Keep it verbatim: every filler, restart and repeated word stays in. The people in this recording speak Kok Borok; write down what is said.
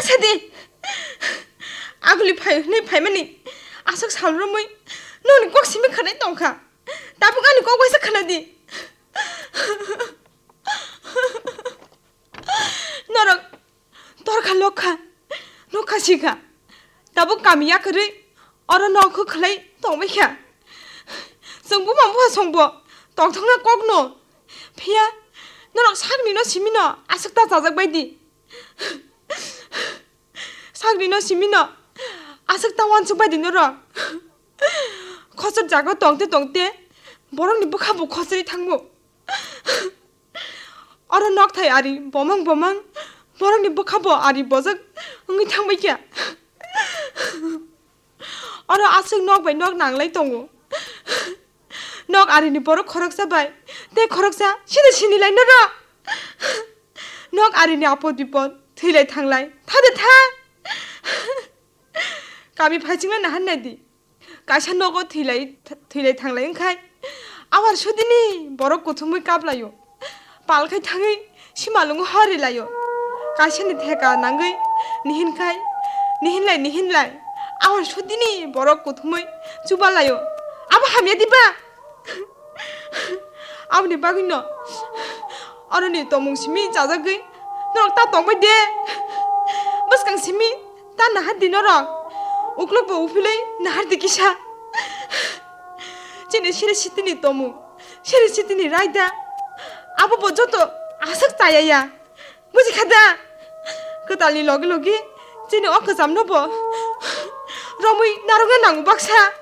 Sadi, aguli phai hwnwi phaimani aswk sal romwi nokni kok simi khwnai tongkha. Tabuk ani kok waisa khwnadi. Norok torkha lokha, nokha sikha. Tabuk kami yakarwi oro nok khwlai tongbaikha. Chwng buma bupha songbo tongthokna kokno. Phiya norok sakni no simino aswk ta chajak baidi. Sakni no simino aswk ta wansuk baidi norok. Khosor jaga tongte tongte borokni bwkha bo khosori thangbo. Oro nokthai ari bomang bomang borokni bwkha bo ari bojak wngwi thangbaikha. Oro aswk nok bai nok nanglai tongo. Nok arini borok khoroksa bai tei khoroksa sini sinilai norok. Nok arini apod bipod thwilai thanglai thade tha. Kami phaichingla nahan naidi. Kaisa nogo thwilai, thwilai thanglai wngkhai, awar sudini borok kuthumwi kaplaio. Palkhai thangwi simalwngo horilaio. Kaisani theka nangwi nihinkhai, nihinlai, nihinlai, awar sudini borok kuthumwi chubalaio. Abo hamya diba? Aboni bagwino oroni tomung simi chajagwi norok ta tongbai de. Bwskang simi ta nahardi norok. Uklok bo uphilwi nahardi kisa. Chini siri sitini tomung, siri sitini raida, abo bo joto aswk chaya ya. Buji kha da? Kwtalni logi logi chini o kwchamno bo romwi narwkna nango baksa.